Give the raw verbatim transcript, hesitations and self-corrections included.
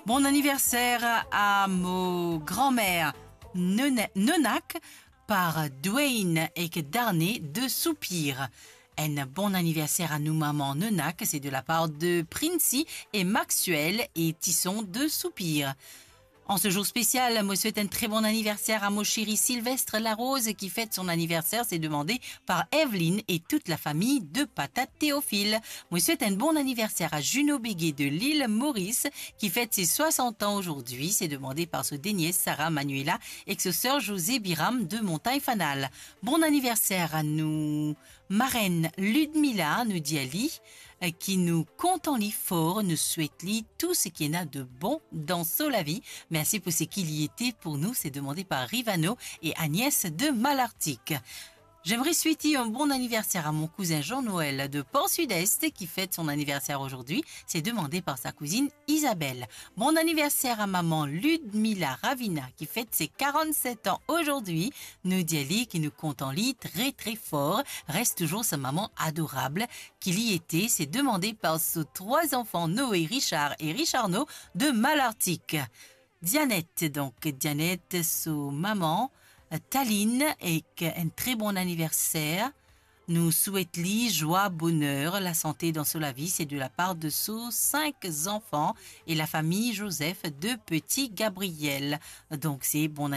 Bon aniverser a mo granmer Nona-, Nonak par Dwayne ek Darne de Soupir. Enn bon aniverser a nou mama Nonak, se de la par de Princey e Maxwell e Tison de Soupir. En ce jour spécial, mo swet enn tre bon aniverser a mo seri Sylvestre Larose ki fet son aniverser, se demande par Evelyne e tout la fami de Patate Théophile. Mo swet enn bon aniverser a Juno Béguet de l'île Maurice ki fet ses soixante ans aujourd'hui, se demande par so denies Sarah Manuela ek so ser José Biram de Montagne Fanal. Bon aniverser a nou marenn Ludmila, nou dir li, eh, ki nou kontan li for, nou swet li tou seki ena de bon dan so lavi. Mersi pou seki li ete pou nou, se demande par Rivano e Agnès de Malartic. J'aimerais souhaiter un bon anniversaire à mon cousin Jean-Noël de Port Sud-Est qui fête son anniversaire aujourd'hui. C'est demandé par sa cousine Isabelle. Bon anniversaire à maman Ludmila Ravina qui fête ses quarante-sept ans aujourd'hui. Nou dir li ki nou kontan li tre, tre for. Res touzour sa mama adorab ki li ete, se demande par so trwa zanfan Noé, Richard e Richarno de Malartic. Dianette, donk, Dianette, so mama, Taline, ek enn tre bon aniverser. Nou swet li zwa, boner, lasante dan so lavi, se de la par de so sink zanfan e lafami Joseph de Petit Gabriel. Donk, se bon